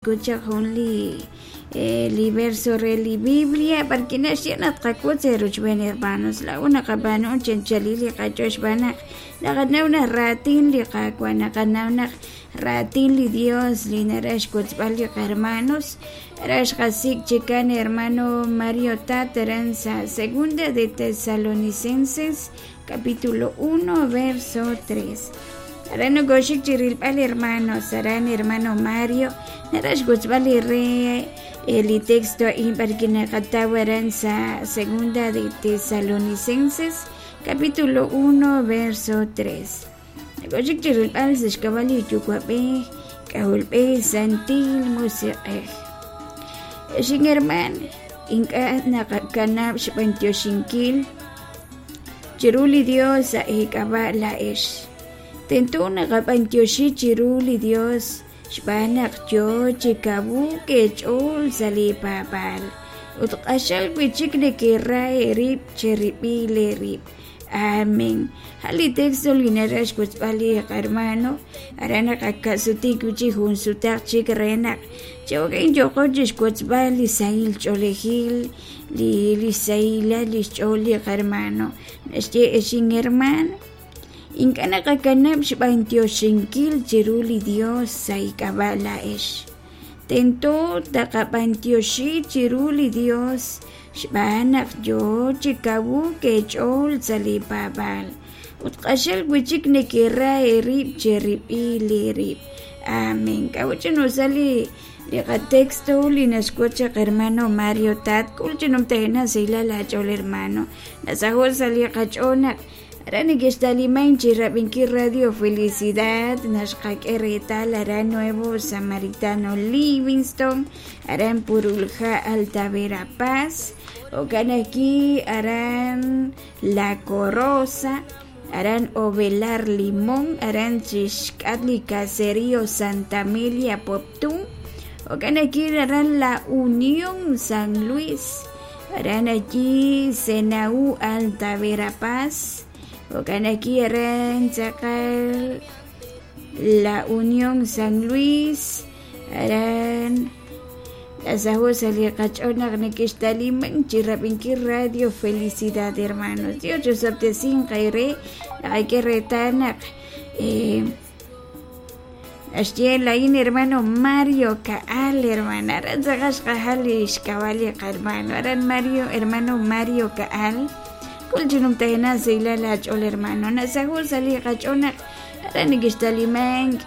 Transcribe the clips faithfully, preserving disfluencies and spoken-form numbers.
Kuchaq jun li li verso re li Biblia b'arki naxye naq tqak'ut sa' ruchb'een hermanos laa'o naqab'aanu chanchalil li qach'ool xb'aan naq naqanaw naq raatin li Qaawa' naqanaw naq raatin li Dios li naraj xwotzb'al li qahermanos raj xqasik' chikan hermano Mario Tat aran sa' Segunda de Tesalonicenses capítulo uno verso tres. Aran nokoxik chi rilb'al hermanos aran hermano Mario naraj xwotzb'al li re li texto a'in b'arki naqataw aran sa' Segunda de Tesalonicenses capítulo uno verso tres. Nokoxik chi rilb'al sa' xk'ab'a' li Yuwa'b'ej K'ajolb'ej Santil Musiq'ej. Xin herman ink'a' naqakanab' xb'antioxinkil chiru li Dios sa' eek'ab'a' la'ex. Tento naqab'antioxi chiru li Dios xb'aan naq yoo chi kawuk eech'ool sa' li paab'aal ut q'axal wi'chik nekera eerib' cherib'il eerib'. Amén. Ja li texto li naraj xwotzb'al li qahermano aran naqaka'suti wi'chik jun sutaq chik re naq chawak'in yoqo chixwotzb'al li sahil ch'oolejil li li sahilal li xch'ool li qahermano naxye exin hermano ink'a' naqakanab' xb'antioxinkil chiru li Dios sa' ik'ab'a' la'ex. Tento taqab'antioxi chiru li Dios xb'aan naq yoo chi kawuk eech'ool sa' li paab'aal ut q'axal wi'chik nekera eerib' cherib'il eerib'. Amén. K'a'ut chinusa li li qatexto li naxk'ut chaq hermano Mario Tat k'ul chinumtajena sahilal aach'ool hermano nasajo' sa' li qach'ool naq aran nekextaliman chi rab'inkil Radio Felicidad naxqak'e reetal aran Nuevo Samaritano Livingston aran Purulja Alta Verapaz jo'kan ajwi' aran La Corosa aran Ovelar Limón aran chixk'at li Caserío Santa Amelia Poptún jo'kan ajwi' aran La Unión San Luis aran allí Senaú Alta Verapaz jo'kan ajwi' aran tz'aqal La Unión San Luis aran nasajo' sa' li qach'ool naq nekextaliman chi rab'inkil Radio Felicidad hermanos. Dios chosab'tesinq eere naqak'e reetal naq naxye lain hermano Mario Kaal hermana aran tz'aqal xqajal li xk'ab'a' li qahermano aran Mario hermano Mario Kaal k'ul chinumtajena sahilal aach'ool hermano nasajo' sa' li qach'ool naq aran nekextaliman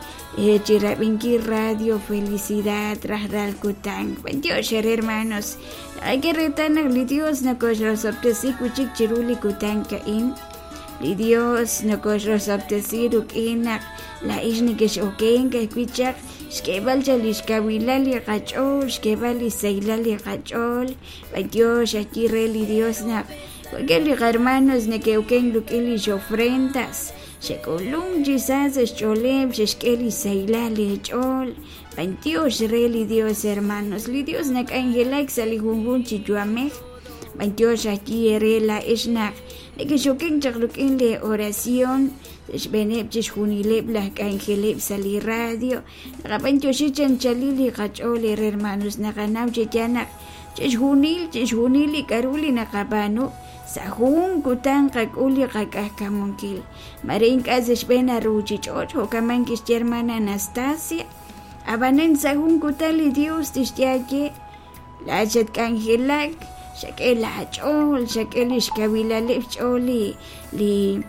chi rab'inkil Radio Felicidad rajlal kutan. B'antiox eere hermanos naqak'e reetal naq li Dios nokoxrosob'tesi wi'chik chiru li kutan ka'in. Li Dios nokoxrosob'tesi ruk'in naq la'ix nekex'okenk ajwi' chaq xk'eeb'al cha li xkawilal li qach'ool xk'eeb'al li sahilal li qach'ool. B'antiox ajwi' re li Dios naq wankeb' li qahermanos neke'okenk ruk'in lix ofrendas xek'ulum chi sa sa' xch'ooleb' xexk'e li sahilal li ch'ool. B'antiox re li Dios hermanos li Dios nak'anjelak sa' li junjun chi yu'amej. B'antiox ajwi' eere la'ex naq nekexokenk chaq ruk'in li oración xb'eeneb' chixjunileb' laj k'anjeleb' sa' li radio naqab'antioxi chanchalil li qach'ool eere hermanos naqanaw chi yaal naq chixjunil chixjunil li k'a'ru li naqab'aanu sa' jun kutan qak'ul li qak'ajkamunkil mare ink'a' sa' xb'een aruuchich'och' jo'kaman kixye hermana Anastasia ab'anan sa' jun kutan li Dios tixye aye la'at xatk'anjelak xak'e laach'ool xak'e li xkawilaleb' xch'ool li li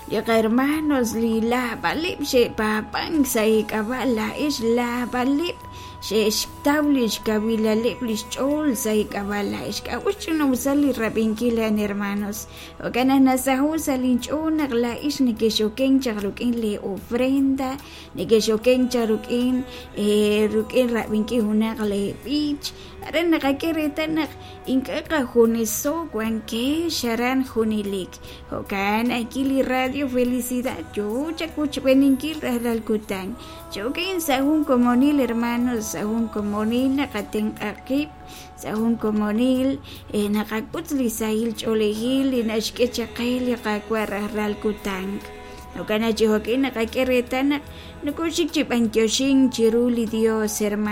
li qahermanos li laab'aleb' xe'paab'ank sa' eek'ab'a' la'ex laab'aleb' xe'xtaw li xkawilaleb' li xch'ool sa' eek'ab'a' la'ex. K'a'ut chinumsa li rab'inkil a'an hermanos jo'kan naq nasajo' sa' linch'ool naq la'ex nekexokenk chaq ruk'in li ofrenda nekexokenk chaq ruk'in ruk'in rab'inkil junaq li b'ich aran naqak'e reetal naq ink'a' qajuneso wankex aran junelik jo'kan ajwi' li Radio Felicidad yoo chakuchb'eninkil rajlal kutan choken sa' jun komonil hermanos sa' jun komonil naqatenq'a qib' sa' jun komonil naqak'ut li sahil ch'oolejil li naxk'e chaq qe li Qaawa' rajlal kutan. Jo'kan naq chi jo'ka'in naqak'e reetal naq nokoxik chi b'antioxink chiru li Dios, hermano.